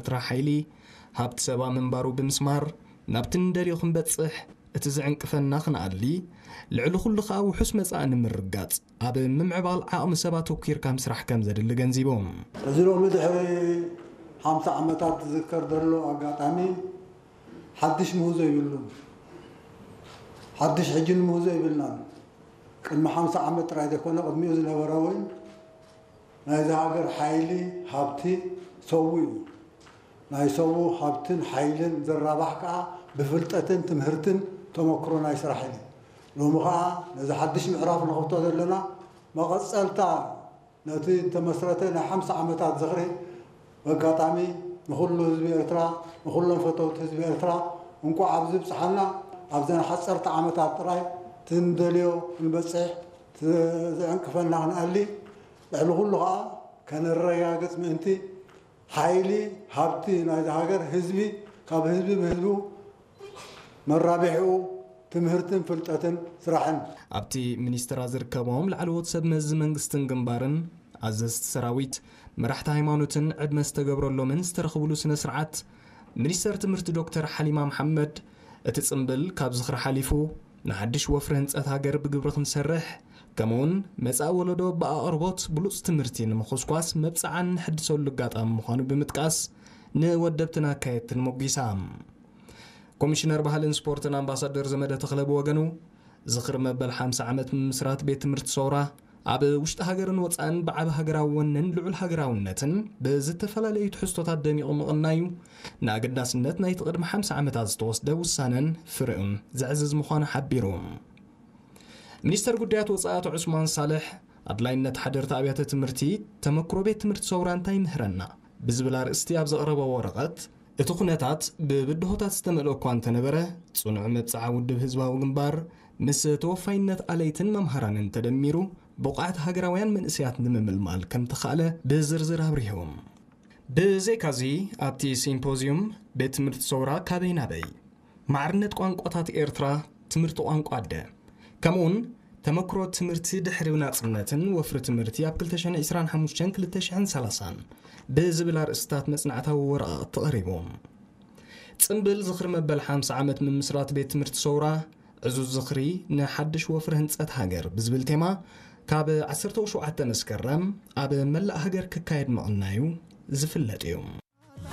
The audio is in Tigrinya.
ኤርትራ ሓይሊ ሃብቲ ሰባ ምንባሩ ብምስማር፣ ናብቲ ንደልዮ ክንበጽሕ፣ እቲ ዝዕንቅፈና ክንኣሊ፣ ልዕሊ ኩሉ ከኣ ውሑስ መጻኢ ንምርጋጽ፣ ኣብ ምምዕባል ዓቕሚ ሰብ ኣተኲርካ ምስራሕ ከም ዘድሊ ገንዚቦም። እዚ ሎሚ ድሕሪ ሓምሳ ዓመታት ዝዝከር ዘሎ ኣጋጣሚ ሓድሽ ምህዞ የብሉን። ሓድሽ ሕጂ ንምህዞ የብልናን። ቅድሚ ሓምሳ ዓመት ጥራይ ዘይኮነ፣ ቅድሚኡ ዝነበረ እውን ናይዚ ሃገር ሓይሊ፣ ሃብቲ፣ ሰቡ እዩ። ናይ ሰቡ ሃብትን ሓይልን ዝራባሕ ከኣ ብፍልጠትን ትምህርትን ተመክሮ ናይ ስራሕ እዩ። ሎሚ ከኣ ነዚ ሓድሽ ምዕራፍ ንኸፍቶ ዘለና መቐጸልታ ነቲ ዝተመስረተ ናይ ሓምሳ ዓመታት ዝኽሪ፣ በጋጣሚ ንኹሉ ህዝቢ ኤርትራ፣ ንኹሎም ፈተውቲ ህዝቢ ኤርትራ እንቋዕ ኣብዚ ብጽሓና። ኣብዘን ሓጸርቲ ዓመታት ጥራይ ትንደልዮ ክንበጽሕ፣ ት-፣ ዝዕንቅፈና ክንኣሊ፣ ልዕሊ ኩሉ ኸኣ ከነረጋግጽ ምእንቲ፣ ሓይሊ፣ ሃብቲ ናይዚ ሃገር ህዝቢ፣ ካብ ህዝቢ ብህዝቡ መራብሒኡ ትምህርትን ፍልጠትን ስራሕን። ኣብቲ ሚኒስትራ ዝርከቦም ላዕለዎት ሰብ መዚ መንግስትን ግንባርን፣ ኣዘዝቲ ሰራዊት፣ መራሕቲ ሃይማኖትን ዕድመ ዝተገብረሎምን ዝተረኽብሉ ስነ ስርዓት፣ ሚኒስተር ትምህርቲ ዶክተር ሓሊማ መሓመድ፣ እቲ ጽምብል ካብ ዝኽሪ ሓሊፉ፣ ንሓድሽ ወፍሪ ህንጸት ሃገር ብግብሪ ክንሰርሕ፣ ከምኡውን መጻኢ ወለዶ ብኣቕርቦት ብሉጽ ትምህርቲ ንምኹስኳስ መብጽዓ እንሕድሰሉ ኣጋጣሚ ምዃኑ ብምጥቃስ፣ ንወደብትን ኣካየድትን ሞጒሳ። ኮሚሽነር ባህልን ስፖርትን ኣምባሳደር ዘመደ ተኽለ ብወገኑ፣ ዝኽሪ መበል ሓምሳ ዓመት ምምስራት ቤት ትምህርቲ ሰውራ፣ ኣብ ውሽጢ ሃገርን ወጻእን ብዓቢ ሃገራዊ ወንን ልዑል ሃገራውነትን ብዝተፈላለዩ ትሕዝቶታት ደሚቑ ምቕናዩ፣ ንኣገዳስነት ናይቲ ቅድሚ ሓምሳ ዓመታት ዝተወስደ ውሳነን ፍረኡን ዘዕዝዝ ምዃኑ ሓቢሩ። ሚኒስተር ጉዳያት ወጻኢ ኣቶ ዑስማን ሳልሕ፣ ኣድላይነት ሓደርቲ ኣብያተ ትምህርቲ፣ ተመክሮ ቤት ትምህርቲ ሰውራ እንታይ ይምህረና ብዝብል ኣርእስቲ ኣብ ዘቕረቦ ወረቐት፣ እቲ ኩነታት ብብድሆታት ዝተመልኦ እኳ እንተነበረ፣ ጽኑዕ መብጽዓ ውድብ ህዝባዊ ግንባር ምስ ተወፋይነት ኣለይትን መምሃራንን ተደሚሩ፣ ብቑዓት ሃገራውያን መንእሰያት ንምምልማል ከም ተኻእለ ብዝርዝር ኣብሪሆም። ብዘይካዚ፣ ኣብቲ ሲምፖዝዩም ቤት ትምህርቲ ሰውራ ካበይ ናበይ፣ ማዕርነት ቋንቋታት ኤርትራ፣ ትምህርቲ ቋንቋ ኣደ፣ ከምኡውን ተመክሮ ትምህርቲ ድሕሪ ናጽነትን ወፍሪ ትምህርቲ ኣብ ክልተ ሽሕን ዕስራን ሓሙሽተን ክልተ ሽሕን ሰላሳን ብዝብል ኣርእስታት መጽናዕታዊ ወረቓቕቲ ቀሪቡ። ጽምብል ዝኽሪ መበል ሓምሳ ዓመት ምምስራት ቤት ትምህርቲ ሰውራ፣ ዕዙዝ ዝኽሪ ንሓድሽ ወፍሪ ህንጸት ሃገር ብዝብል ቴማ፣ ካብ ዓሰርተ ሸውዓተ መስከረም ኣብ መላእ ሃገር ክካየድ ምቕናዩ ዝፍለጥ እዩ።